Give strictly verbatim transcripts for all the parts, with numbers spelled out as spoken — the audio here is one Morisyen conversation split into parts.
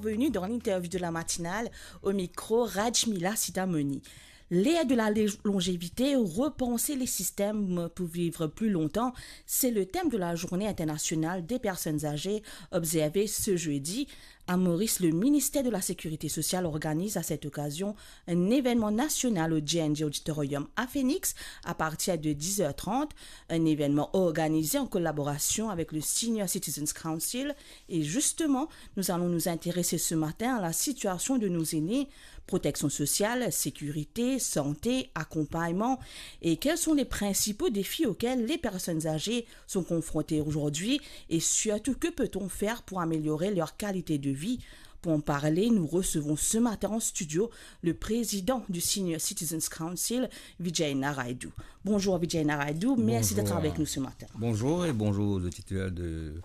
Bienvenue dans l'interview de la matinale, au micro Rajmila Sitamoni. L'ère de la lé-, longévité, repenser les systèmes pour vivre plus longtemps, c'est le thème de la Journée internationale des personnes âgées observée ce jeudi. À Maurice, le ministère de la Sécurité sociale organise à cette occasion un événement national au J N J Auditorium à Phoenix à partir de dix heures trente, un événement organisé en collaboration avec le Senior Citizens Council. Et justement, nous allons nous intéresser ce matin à la situation de nos aînés, protection sociale, sécurité, santé, accompagnement, et quels sont les principaux défis auxquels les personnes âgées sont confrontées aujourd'hui, et surtout que peut-on faire pour améliorer leur qualité de vie. Pour en parler, nous recevons ce matin en studio le président du Senior Citizens Council, Vijay Naraidu. Bonjour Vijay Naraidu, merci d'être avec nous ce matin. Bonjour et bonjour aux auditeurs de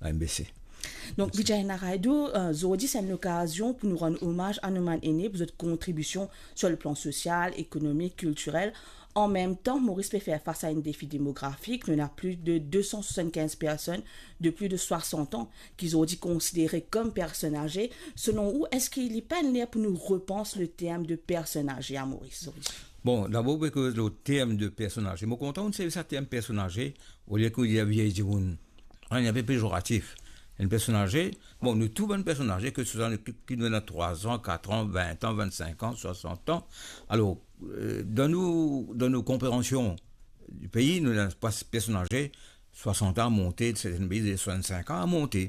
la M B C. Donk, Vijay Naraidu, euh, zordi se enn lokazion pou nou rann omaz a nou bann ene pou zot kontribision sur le plan social, économique, culturel. En même temps, Maurice pe fer fas a enn defi demografik. Nou ena plis de deux cent soixante-quinze personnes de plus de soixante ans ki zordi konsidere kom personn aze. Selon ou, eski li pa ler pou nou repans le term de personn aze a Maurice zordi? Bon, dabor, pou koz le term de personn aze, mo kontan ou servi sa term personn aze, olie pou dir viey dimoun. Hein, li enpe pezoratif. Enn personn aze, bon, nou tou bann personn aze, ke se swa ki, ki nou ena trwa an, kat an, vin an, vinn-sink an, swasant an. Alor, euh, dan nou, dan nou konpreansion di pei, nou ena pas personn aze, swasant an a monte, sertin pei, swasant-sink an a monte.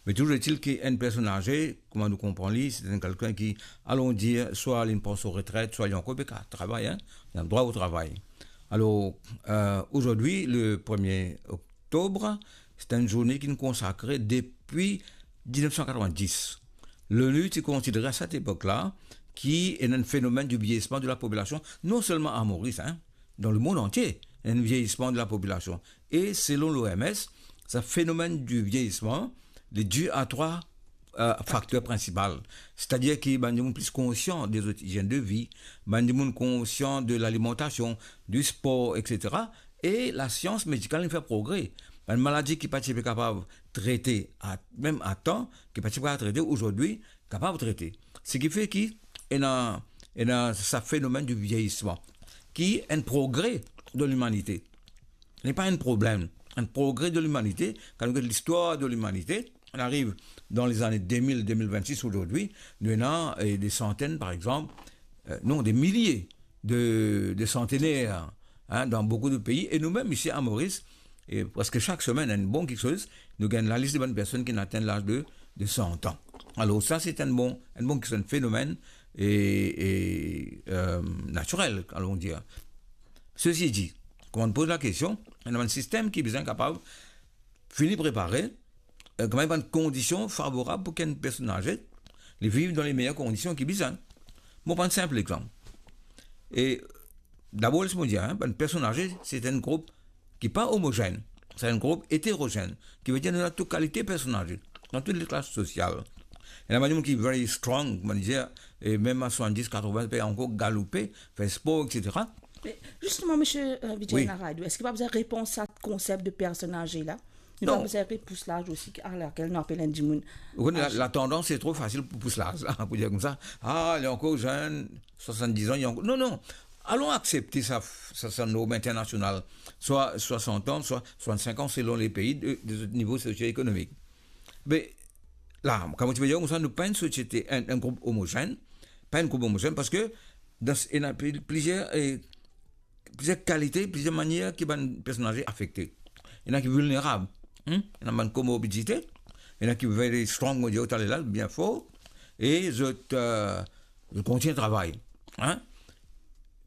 Me touzour etil ki enn personn aze, kouma nou konpran li, se enn kelkenn ki, alon dir, swa li pran so retret, swa li ankor pe kapav travay, hein, li ena drwa o travay. Alor, euh, zordi, le premie oktob, se enn zourne ki nou konsakre depi diznef san katrevin-dis. L'ONU ti konsidere a set epok la ki ena enn fenomenn di vieyisman de la popilasion, non selman a Moris, hein, dan lemond antie, ena enn vieyisman de la popilasion. E selon l'O M S, sa fenomenn di vieyisman, li di a trwa, euh, fakter prinsipal. Setadir ki bann dimoun plis konsian de zot izienn de vi, bann dimoun konsian de lalimantasion, di spor, et cetera. E lasians medikal inn fer progre. Bann maladi ki pa ti pe kapav trete a, mem a tan, ki pa ti pe kapav trete, zordi kapav trete. Seki fer ki ena, ena sa fenomenn di vieyisman, ki enn progre de limanite. Li pa enn problem, enn progre de limanite. Kan nou get listwar de limanite, on ariv dan lezane de mil, de mil vennsis zordi, nou ena, eh, de santenn, par exanp, eh, non, de milie de, de santener, hein, dan boukou de pei. E nou mem isi a Moris, e preske sak semenn, enn bon kiksoz, nou gagn lalis de bann personn ki atenn laz de, de san an. Alor sa, se enn bon, enn bon kiksoz, enn fenomenn e, e, euh, natirel, alon dir. Sesi di, kan nou poz lakestion, ena bann sistem ki bizin kapav fini prepare, euh, kouma bann kondision favorab pou ki enn personn aze li viv dan le meyer kondision ki bizin. Mo pran enn sinp exanp. E dabor, les mo dir, hein, bann personn aze, se enn group ki pa omozenn, se enn group eterozenn, ki ve dir nou ena tou kalite personn aze, dan tou le klas sosial. Ena bann dimoun ki very strong, mo dir, e mem a swasanndis, katrovin, pe ankor galoupe, fer spor, et cetera. Me zisteman, misie, euh, Vijay Naraidu, eski pa bizin repans sa konsep de personn aze la? Nou pa bizin repous laz osi, a lakel nou apel enn dimoun aze. Ou kone, la, latandans, se tro fasil pou pous laz la, pou dir koumsa, ah, li ankor zenn, swasanndis an, li ankor. Non, non. Alon aksepte sa, sa, sa norm internasional, swa swasant an, swa swasannsink an, selon le pei, de, de zot nivo sosio-ekonomik. Me la, kan mo ti pe dir koumsa, nou pa enn sosiete, enn, enn group omozenn, pa enn group omozenn, parski dan s-, ena pli-, plizier, eh, plizier kalite, plizier manier ki bann personn aze afekte. Ena ki vilnerab, hmm? Ena bann komorbidite, ena ki very strong, mo dir taler la, bien for, e zot, euh, zot kontign travay, hein?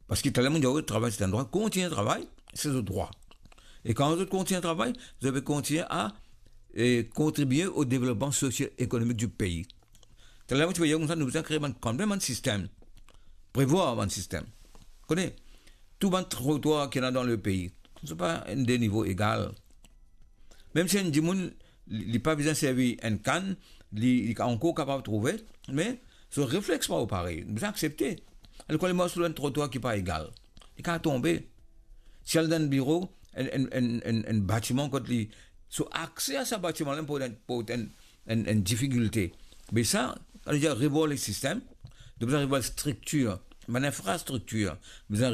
Parski taler mo dir, travay se enn drwa, kontign travay, se zot drwa. E kan zot kontign travay, zot pe kontign a, e, kontribie o devlopman sosio-ekonomik di pei. Taler mo ti pe dir koumsa, nou bizin kree bann, kanmem bann sistem, prevwar bann sistem. Kone, tou bann trotwar ki ena dan le pei, se pa enn de nivo egal. Mem si enn dimoun, li, li pa bizin servi enn kann, li, li ankor kapav trouve, me so reflex pa parey, bizin aksepte. Alor, kan li mars lor enn trotwar ki pa egal, li kapav tonbe. Si al dan enn biro, enn, enn, enn, enn, enn batiman kot li, so akse a sa batiman la pou enn, pou enn, enn, enn difikilte. Me sa, Sa vedir revwar le sistem, nou bizin revwar striktir, bann infrastriktir, bizin